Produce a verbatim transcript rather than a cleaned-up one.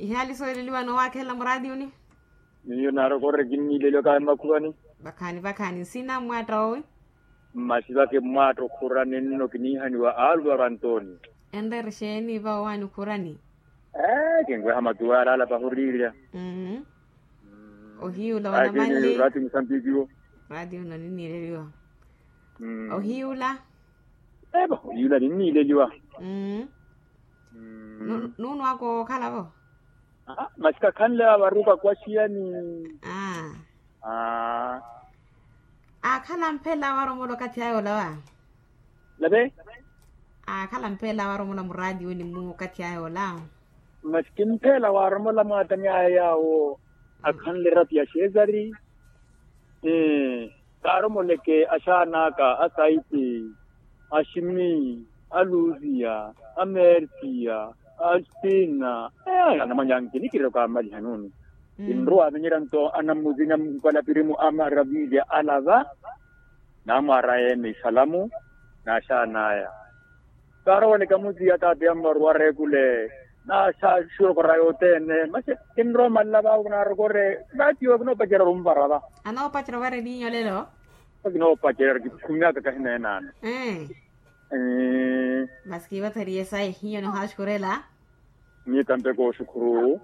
Ihaali sooleliwa noowakhelela muraatiyuni. Miyo naarokorre kinniileliwa kahi mmakhuwani. Vakhaani vakhaani nsina mmwaatta owi. Mmasivake mmwaatta okhurani nno kiniihaniwa aaluvaru antooni. Enreera exeeni va owaani okhurani. Ee kinweha matuwa yaalaalapa huriirya. Ohiyula wanamanli. Raati musampikiwo. Raati uno ninniileliwa. Ohiyula. Evo ohiyula ninniileliwa. Nuunwaka okhala vo. Masi kakhanle avaruka kwasiyani. Aakhala mphela awaromola okathi aya ola wa. Nave. Aakhala mphela awaromola muraatiwini mmu okathi aya ola. Masi kimphela waaromola mwaatani aya yaawo akhanle erati ya xeesari. Kaaromoleke axaan'aka asaiti, aximi, aluziya, amertiya, aspina. Anamwanyanki nikirira okaamaliha nuuni. Kinrowa avinyerya nto anammuzinya mpalapirimu a maravilya alava. Naamwaara yeene isalamu n'axaan'aya. Kaaroweleke amuziya taati yammaruwara ekule. N'axaxurokora yothene masi kinrowa omalala vaawo kinaarokore. Vaatiwo kinoopacerya orumvara va. Anoopacerya ovara eliinyo lelo. Kinoopacerya kikhumyaka kahi neenaano. Masi kiivatheriye sayi hiyo nihaaxukurela. Miyo tampe kooxukhuru.